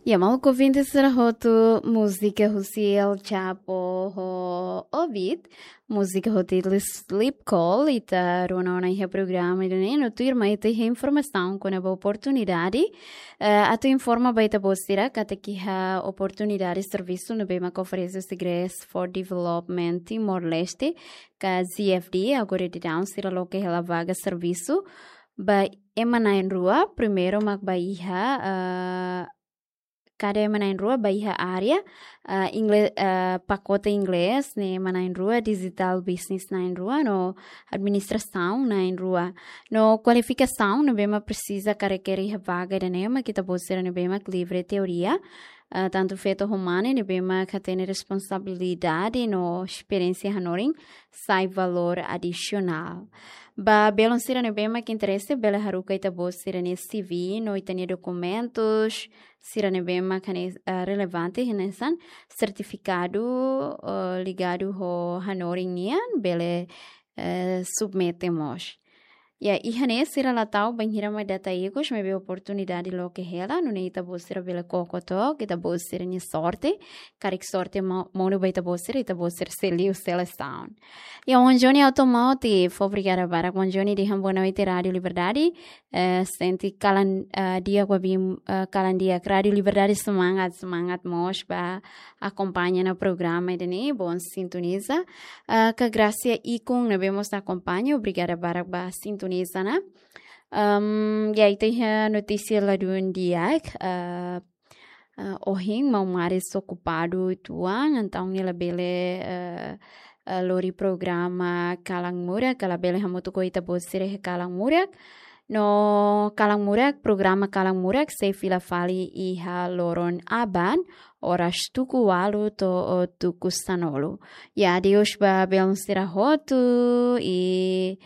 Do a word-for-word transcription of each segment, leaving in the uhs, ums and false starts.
Ya, maluk ouvinte sira hotu, múzika husi El Chapo ho Ovid, múzika hotu Sleep Call, ita rona ona iha programa ida-ne'e, no tuirmai ita iha informasaun kona-ba oportunidade. Eh, atu informa ba ita-boot sira katak iha oportunidade servisu ne'ebé mak oferese husi Grace for Development Timor-Leste, ka G F D, agora daudaun sira loke hela vaga servisu ba ema na'in-rua, primeiru mak ba iha, eh, kada ema na'in-rua ba iha área, eh, inglés, eh, pakote inglés ne'e ema na'in-rua, digital business na'in-rua, no administrasaun na'in-rua. No kualifikasaun ne'ebé mak presiza ka rekere iha vaga ida-ne'e mak ita-boot sira ne'ebé mak livre teoria, eh, tantu feto ho mane ne'ebé mak hatene responsabilidade no esperiénsia hanorin sai valór adisionál. Ba belun sira ne'ebé mak interese, bele haruka ita-boot sira-nia C V no ita-nia dokumentus sira ne'ebé mak hane, eh, relevante, hanesan sertifikadu, eh, ligadu ho hanorin nian, bele, eh, submete mós. Ya, iha ne'e sira la tau bainhira mak data ikus, maibé oportunidade loke hela, nune'e ita-boot sira bele koko took, ita-boot sira-nia sorte, karik sorte mo-, monu ba ita-boot sira, ita-boot sira sei liu selesaun. Ya, One Johnny Automotive, obrigada barak, One Johnny, dehan boa noite, Rádio Liberdade, eh, sente kalan, eh, di'ak ba ouvir, eh, kalan di'ak, Rádio Liberdade semangat, semangat mós ba akompaña ona programa ida-ne'e, bom sintoniza. Ah, ka Gracia Ikun ne'ebé mós akompaña, obrigada barak ba sintoniza ona. Ehm, ya, ita iha notísia ladún di'ak, eh, eh, ohin maun Maris okupadu uitoan, entaun nia labele, eh, eh, lori programa Kalan Murak, ka labele hamutuk ho ita-boot sira iha Kalan Murak. No Kalan Murak, programa Kalan Murak sei fila fali iha loron aban, oras tuku ualu to'o tuku sanulu. Ya, adeus ba belun sira hotu, i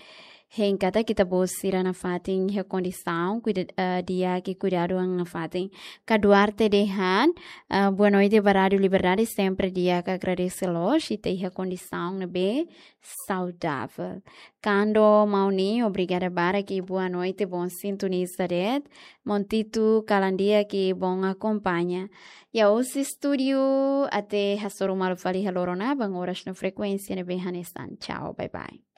hein katak ita-boot sira nafatin iha kondisaun, kuida-, eh, di'ak i kuidadu an nafatin. Ka Duarte dehan, eh, boa noite ba Rádio Liberdade, sempre di'ak, agradese loos, ita iha kondisaun ne'ebé saudável. Kando Mauni, obrigada barak i boa noite, bom sintoniza de'it. Maun Tito, kalan di'ak i bom akompaña. Ya, husi estúdiu até hasoru malu fali iha loron aban, oras no frekuénsia ne'ebé hanesan. Tchau, bye bye.